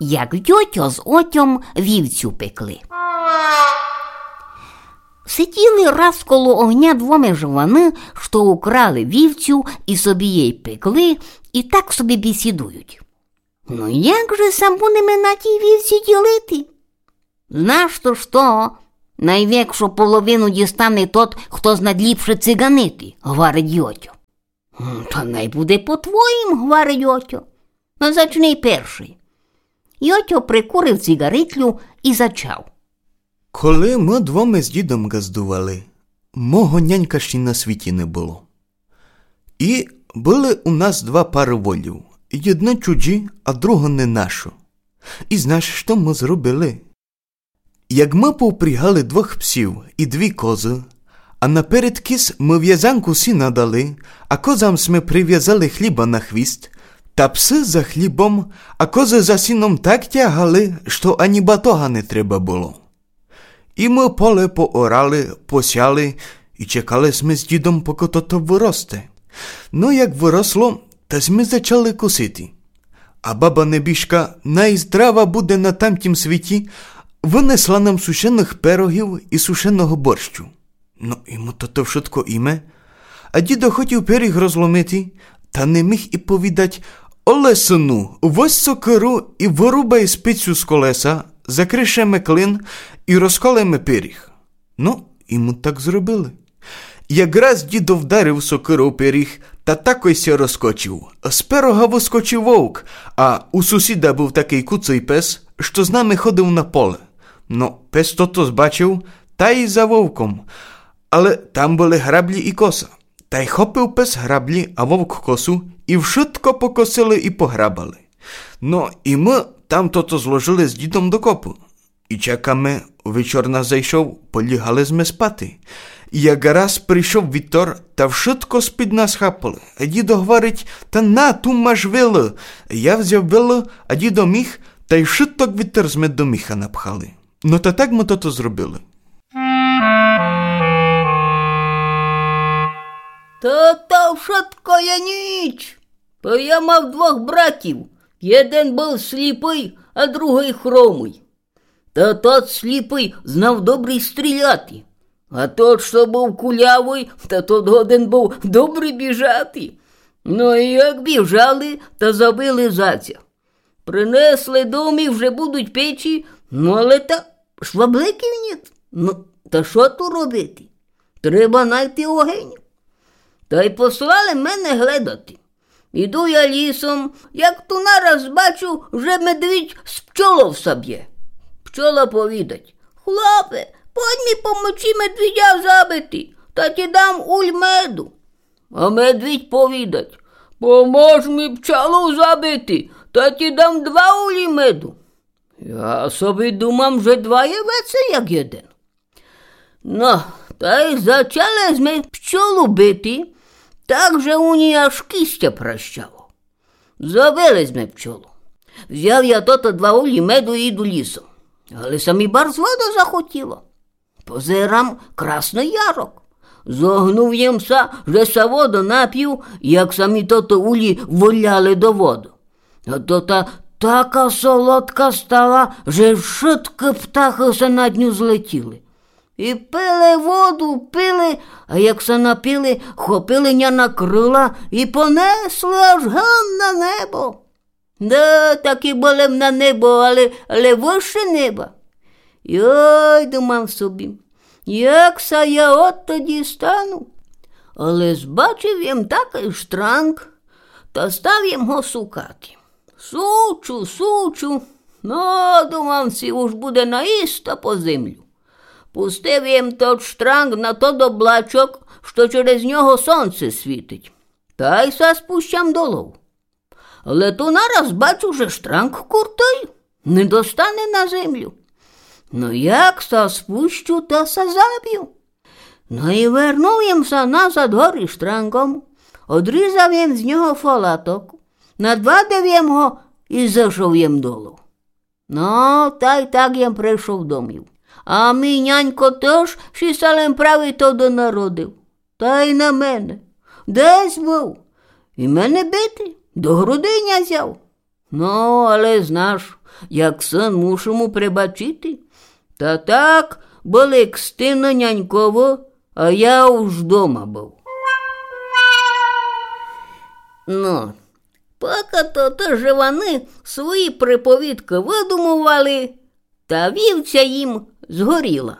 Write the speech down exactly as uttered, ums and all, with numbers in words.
Як Йотьо з Отьом вівцю пекли. Сиділи раз коло огня двоме жованы, што украли вівцю і собі єй пекли, і так собі бесідують: «Ну як же ся будеме на тій вівці ділити?» «Знаш то што, найвекшу половину дістане тот, хто знад ліпше циганити», — гварить Йотьо. «М, та най буде по твоїм», — гварить Отьо. «Но зачни першый». Йотьо прикурив цигаритлю і зачав: Коли мы двоме з дідом ґаздували, мого нянька ще на світі не было. І были у нас два пары волів, єдно чуджі, а друго не нашо. І знаш, што мы зробили? Як мы повпрягали двох псів і дві козы, а наперед кіз мы вязанку сіна дали, а козам сьме привязали хліба на хвіст, та псы за хлібом, а козы за сіном так тягали, што ані батога не треба было. І мы поле поорали, посяли, і чекали сьме з дідом, покы тото выросте. Но як выросло, та сьме зачали косити. А баба небіжка, най здрава буде на тамтім світі, вынесла нам сушеных пирогів і сушеного борщу. Но і мы тото вшытко їме. А дідо хотів пиріг розломити, та не міг і повідать: «Оле, сыну, возь сокыру і вырубай спицю з колеса, закришеме клин і розколеме пиріг». Но і мы так зробили. Якраз дідо вдарив сокыров пиріг, та такой ся розскочив. З пирога выскочив вовк, а у сусіда быв такый куцый пес, што з нами ходив на поле. Но пес тото збачив, та й за вовком. Але там были граблі і коса. Та й хопив пес граблі, а вовк косу, і вшытко покосили і пограбали. Но і мы там тото зложили з дідом докопы. І чекаме, вечор нас зайшов, полягали сьме спати. І якраз прийшов вітор, та вшытко з-під нас хапали. А дідо гварить: «Та на, ту маш вилы». Я взяв вилы, а дідо міх, та й вшыток вітер сьме до міха напхали. Но та так мы тото зробили. Та то вшытко є ніч. Бо я мав двох братів. Єден быв сліпый, а другый хромый. Та тот сліпый знав добрі стріляти. А тот, што быв кулявый, та тот годен быв добрі біжати. Но і як біжали, та забили зайця. Принесли домів, вже будуть печи, но але та швабликів нєт. Но та што ту робити? Треба найти огень. Та й послали мене гледати. Іду я лісом, як ту нараз бачу, вже медвідь з пчолов ся бє. Пчола повідать: «Хлопе, подь мі помочи медвідя забити, та ті дам уль меду». А медвідь повідать: «Помож мі пчолу забити, та ті дам два улі меду». Я собі думам, же два є веце, як єден. Но, та й зачали сьме пчолу бити, так же у ній аж кістя пращало. Забили сьме пчолу. Взяв я тото два улі меду і іду лісом. Але ся мі барз воды захотіло. Позирам, красный ярок. Зогнув єм ся, же ся воды напів, як ся мі тото улі виляли до воды. А то та така солодка стала, же вшыткы птахы ся над ню злетіли. І пили воду, пили, а як ся напили, хопили ня на крыла і понесли аж ган на небо. Да, таки были м на небо, але, але выше неба. Йой, думам собі, як ся я одту дістану? Але збачив єм такый штранґ, та став єм го сукати. Сучу, сучу, но, думам сі, уж буде наїсто по землю. Пустив єм тот штранґ на тот облачок, што через нього сонце світить. Та й ся спущам долов. Але ту нараз бачу, же штранґ куртый, не достане на землю. Но як ся спущу, та ся забю. Но і вернув єм ся назад горі штранґом, одрізав єм з нього фалаток, надвадив єм го і зышов єм долу. Но, та й так єм пришов домів. А мій нянько тыж ші ся лем праві тогды народив. Та й на мене. Десь быв. І мене бити. До грудиня зяв. Но, але знаш, як сын, мушу му пребачити. Та так, были кстины няньково, а я уж дома быв. Но, пока то, то же вони свої приповідкы выдумовали, та вівця їм згоріла.